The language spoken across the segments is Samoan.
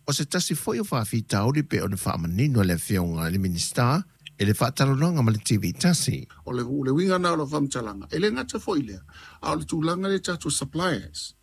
O se tasi foi o faafitauli pei ona faamanino e le Afioga i le Minisita i le faatalanoaga ma le TV tasi. O le le uiga lena o lau faamatalaga, e le gata foi i lea, a o le tulaga lea i tatou suppliers,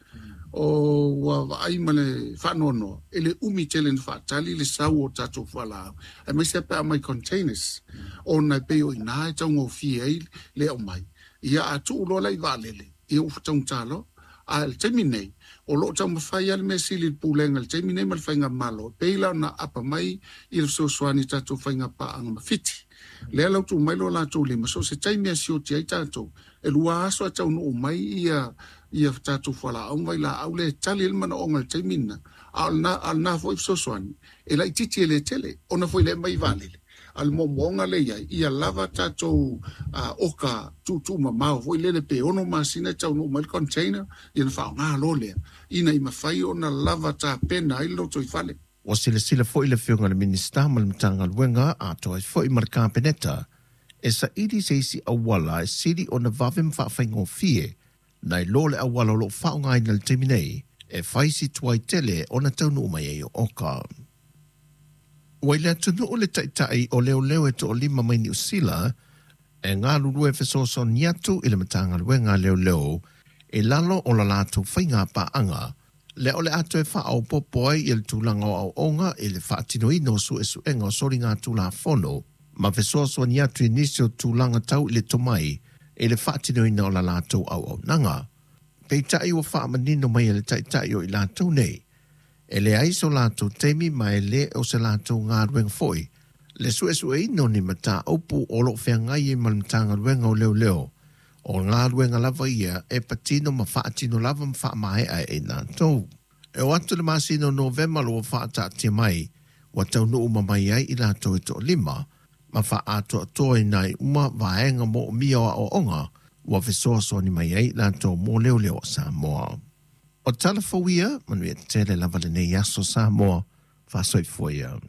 o ua vaai ma le faanoanoa, e le umi tele ona faatali le sau o tatou fualaau, aemaise pe a aumai containers, ona e pei o i ina e taugofie ai le aumai. Ia a tuu loa la i vaalele, ia ua taugata loa. A o le taimi nei, o lo o taumafai lava le mea sili i le Pulega i le taimi nei ma le Faigamalo, e pei la ona aapa mai i le fesoasoani i tatou faiga paaga ma Fiti. Lea la ua tuu mai lo latou lima, so o se taimi e sioti ai tatou, e 2 aso ae taunuu mai ia ia tatou fualaau ma vailaau lea e tali ai le manaoga i le taimi lena. A o lena foi fesoasoani, e laitiiti e le tele, ona foi lea e aumai i vaalele. A o le moomooga lea e i ai, ia lava tatou oka tuutuumamao foi lele pe 6 masina e taunuu mai le container, ia ona faaaoga loa lea, ina ia mafai ona lava tapena ai le lotoifale. Ua silasila foi le Afioga i le Minisita ma le Matagaluega atoa ai foi ma le Kapeneta e saili se isi auala e sili ona vave ma faafaigofie nai lo le auala o lo o faaaogaina i le taimi nei e fai si tuai tele ona taunuu mai ai o oka. Ua i le atunuu le taitai o leoleo e toalima mai Niu Sila e galulue fesoasoani atu i le Matagaluega a Leoleo i lalo o la latou faiga paaga lea o le a toe faaopoopo ai le tulaga o aoaoga i le faatinoina o suesuega o soligatulafono ma fesoasoani atu i nisi o tulaga tau i le tomai i le faatinoina o la latou auaunaga. Peitai ua faamanino mai e le taitai o i latou nei, e leai so latou taimi ma e le o se latou galuega foi le suesueina o ni mataupu o lo o feagai ai ma le Matagaluega o Leoleo, o galuega lava ia e patino ma faatino lava ma faamaea e i latou. E oo atu i le masina o Novema o lo o faataatia mai ua taunuu uma mai ai i latou e toalima ma faaatoatoa ai uma vaega moomia o aoaoga ua fesoasoani mai ai i latou mo leoleo a Samoa. O tala fou ia, manuia tele lava lenei aso Samoa, faasoifua ia.